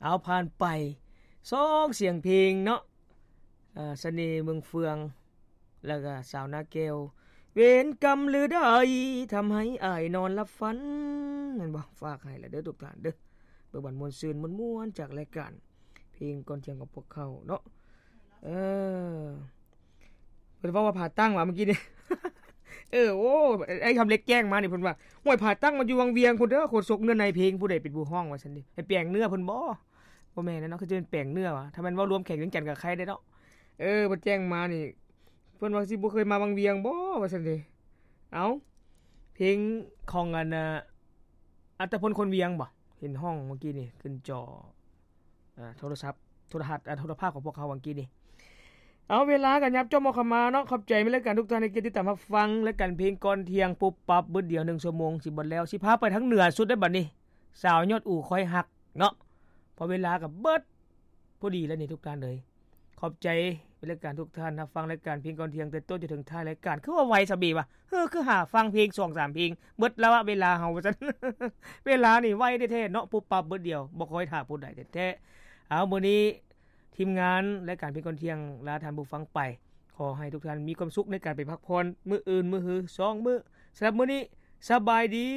ເອົາ ຜ່ານໄປສອງສຽງເພງເນາະ ເອີ ສະເໜ່ເມືອງເຟືອງ ແລ້ວກະສາວນາແກ້ວ ເວນກຳຫຼືໃດ ທຳໃຫ້ອ້າຍນອນຫຼັບຝັນ ແມ່ນບໍ່? ຝາກໃຫ້ລະເດີທຸກທ່ານເດີ ເບິ່ງບັນມ່ວນຊື່ນມ່ວນໆ ຈາກລາຍການເພງກ່ອນທ່ຽງຂອງພວກເຮົາເນາະ ເອີ ເພິ່ນເວົ້າວ່າຜ່າຕັ້ງຫວາມື້ກີ້ນີ້ ເອີ ໂອ້ ໄອ້ຄຳເລັກແຈ້ງມານີ້ ເພິ່ນວ່າ ຫ້ວຍ ຜ່າຕັ້ງມາຢູ່ວັງວຽງພຸ້ນເດີ ໂຄສົກເນື້ອໃນເພງ ຜູ້ໃດເປັນຜູ້ຮ້ອງວ່າຊັ້ນເດ ໃຫ້ແປງເນື້ອເພິ່ນບໍ່? ບໍ່ແມ່ນແຫຼະເນາະ ຄືຈະເປັນແປງເນື້ອຫວາ ຖ້າແມ່ນເວົ້າລວມແຂວງວຽງຈັນກໍໄຄແດ່ເນາະ ເອີ ເພິ່ນແຈ້ງມານີ້ ເພິ່ນວ່າຊິບໍ່ເຄີຍມາວັງວຽງບໍ່ວ່າຊັ້ນເດ ເອົ້າ ເພງຂອງອັນ ອັດຕະພົນ ຄົນວຽງບໍ່ ເຫັນຮ້ອງມື້ກີ້ນີ້ ຂຶ້ນຈໍ ອ່າ ໂທລະສັບ ໂທລະທັດ ອ່າ ໂທລະພາບຂອງພວກເຮົາຫວ່າງກີ້ນີ້. ເອົາ ເວລາກໍຫຍັບຈ້ອມເຂົ້າມາເນາະ. ຂອບໃຈແມ່ນລາຍການທຸກທ່ານທີ່ຕິດຕາມຮັບຟັງລາຍການເພງກ່ອນທ່ຽງ ປຸບປັບບຶດດຽວໜຶ່ງຊົ່ວໂມງ ຊິເບິດແລ້ວ ຊິພາໄປທາງເໜືອສຸດເດ້ບັດນີ້ ສາວຍອດອູ ຄອຍຮັກເນາະ. ເພາະເວລາກໍເບິດພໍດີແລ້ວນີ້ທຸກທ່ານເອີຍ. ຂອບໃຈແມ່ນລາຍການທຸກທ່ານຮັບຟັງລາຍການເພງກ່ອນທ່ຽງ ແຕ່ຕົ້ນຈົນເຖິງທ້າຍລາຍການ. ຄືວ່າໄວຊະເບວະ ເຮີ ຄືຫາຟັງເພງສອງສາມເພງ ເບິດລະວະເວລາເຮົາວ່າຊັ້ນ. ເວລານີ້ໄວແທ້ໆເນາະ ປຸບປັບບຶດດຽວ ບໍ່ຄອຍຖ້າຜູ້ໃດແທ້ໆ. ເອົາ ມື້ນີ້ທີມງານລາຍການເພງກ່ອນທ່ຽງລາທ່ານຜູ້ຟັງໄປ. ຂໍໃຫ້ທຸກທ່ານມີຄວາມສຸກໃນການໄປພັກຜ່ອນ ມື້ອື່ນມື້ຮືສອງມື້. ສຳລັບມື້ນີ້ ສະບາຍດີ.